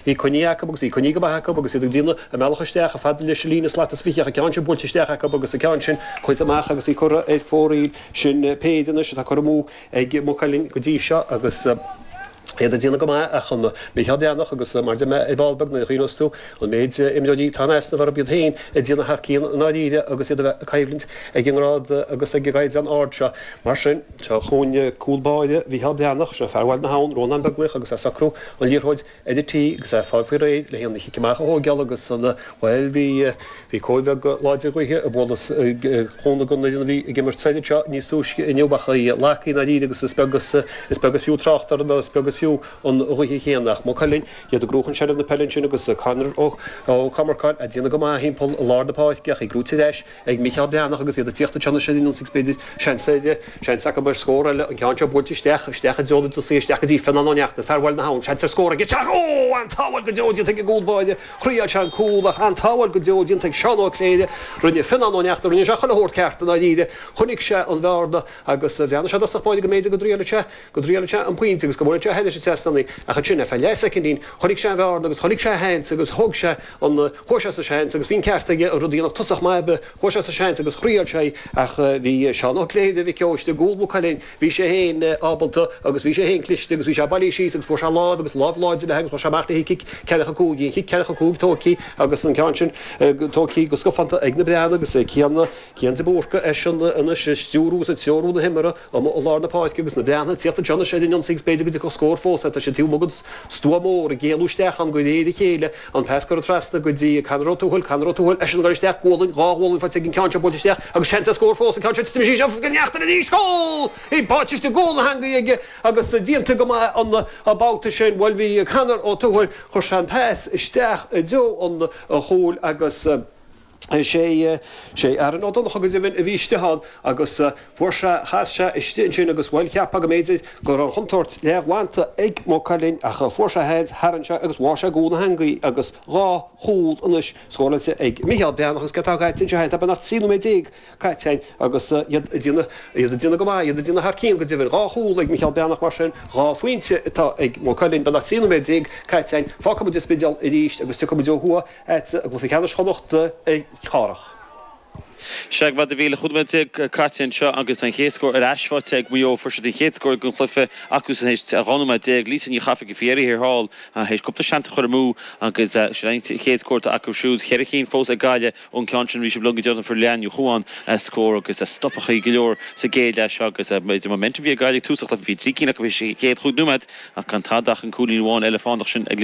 Bhí coinnithe acu agus bhí coinnithe go maith acu agus iad ag déanamh a mbealach isteach chomh fada leis an líne slat is 20 ach an ceann sin buailte isteach acu agus an ceann sin curtha amach agus í curtha ar fóraoil. Sin péire anois atá curtha amú ag Maigh Cuilinn go dtí seo agus iad ag déanamh go maith ach an Micheál Breathnach agus mar a deir mé ar ball beag nuair a chuimhneos tú an méid imreoirí atá in easnamh orthu iad féin ag déanamh thar cionn i ndáiríre agus iad a bheith ag coimhlint ag an ngrád agus ag an gcaighdeán ard seo. Mar sin, seo chugainn cúl báire Mhicheál Breathnach, seo fear Bhaile na hAbhann, Rónán Beaglaoich agus é ag socrú an liathróid ar an tí agus é ag fáil faoi réir le haghaidh an chic amach a thóigeáil agus an, bhuel, bhí, bhí cóir bheag láidir gaoithe ag bualadh chúnamh don fhoireann a bhí ag imirt soir anseo níos túisce inniu ach í lagtha i ndáiríre agus is beag is, is beag is fiú trácht orthu nó is beag is fiú an ghaoth chéanna. Ach Maigh Cuilinn, iad ag gnóchan seilbh na peile ansin agus Conor Ó, Ó Comarcáin ag déanamh go maith thimpeall i lár na páirce ach í gnóite ar ais ag Mícheál Breathnach agus iad ag tíocht anseo anois ar an ionsaí agus b'fhéidir seans ar, seans acu ar scór eile, an ceann seo buailte isteach, isteach i dtreo na dtosaithe, isteach go dtí Fionnán Ó Neachtain, fear Bhaile na hAbhann, seans ar scór aige, isteach, ó! An-tsábháil go deo déanta ag an gcúl báire, thriail sé an cúl ach an-tsábháil go deo déanta ag Seán Ó Cléire, rinne Fionnán Ó Neachtain, rinne sé chuile shórt ceart i ndáiríre, chonaic sé an bhearna agus bhreathnaigh sé i dtosach báire go mb'fhéidir go dtriailfeadh sé, go dtriailfeadh sé an pointe agus go mbuailfeadh sé thairis an trasnán í ach ansin ar feadh leathshoicindín chonaic sé an bhearna agus chonaic sé a sheans agus thóg sé an, chuaigh sé sa seans agus bhí an ceart aige an rud a dhéanamh tosach maith ar bith, chuaigh sé sa seans agus thriail sé í ach bhí Seán Ó Cléire Mhic Eois i gcúl Mhaigh Cuilinn, bhí sé féin ábalta agus bhí sé féin cliste agus bhí sé bailithe síos agus fuair sé lámh agus lámh láidir léi agus chuaigh sé amach léi cic ceathracha 5, bhí an chic ceathracha 5 tógtha agus an ceann sin tógtha go scafánta ag na Breathnaigh agus Cian, Cian de Búrca eisean anois ag stiúrú agus ag treorú na himeartha. Amuigh i lár na páirce agus na Breathnaigh ag tíocht anseo anois ar an ionsaí agus b'fhéidir go dtiocfadh scór fós air. Tá siad taobh amuigh den stua mór ag éalú isteach ann de réir a chéile. An pas curtha trasna go dtí Conor Ó Tuathail, Conor Ó Tuathail, eisean ag dul isteach, gualainn, dhá ghualainn faighte ag an ceann seo buailte isteach agus seans ar scór fós, an ceann seo titim síos, Ó Neachtain arís, cúl! Í báite istigh i gcúl na heangaí aige agus déanta go maith an babhta sin. Bhuel bhí Conor Ó Tuathail, chuir sé an pas isteach i dtreo an chúil agus. Sé, sé Aaron Ó Donnchadha go deimhin a bhí istigh ann agus fuair sé, chas sé istigh ansin agus bhuel cheapfá go mb'fhéidir go raibh an chontúirt leathghlanta ag Maigh Cuilinn ach fuair sé a sheans, tharraing sé agus bháigh sé i gcúl na heangaí agus dhá chúl anois scóráilte ag Micheál Breathnach agus céard atá caite anseo féin, tá beagnach 13 nóiméad caite againn agus iad ag déanamh, iad ag déanamh go maith, iad ag déanamh thar cionn go deimhin. Dhá chúl ag Micheál Breathnach mar sin, dhá phointe atá ag Maigh Cuilinn, beagnach 13 nóiméad caite againn. Fágfaidh muid an Spidéal arís agus tiocfaidh muid ó thuaidh. I gcluiche ceannais Chonnacht a Chárthach. Sea, go maith a Mhíchíl, 15 nóiméad caite anseo agus an chéad scór ar ais faighte ag Maigh Eo. Fuair siad an chéad scór den chluiche acu san théis 12 nóiméad. Lisa Ní Chafaigh faoi dheireadh thiar thall théis cúpla seans a chur amú agus sin an chéad scór atá acu siúd. Cheithre cinn fós ag Gaillimh ón gceann sin. Bhí sibh liom go deireanach fuair Leanne Ní Chuáin scór agus stopadh go leor sa gcéad leath seo agus b'fhéidir momentum a bhí ag Gaillimh ag tús an chluiche. Bhí trí cinn acu théis an chéad chúig nóiméad ach gan tada ach an cúilín amháin eile fánach sin ag.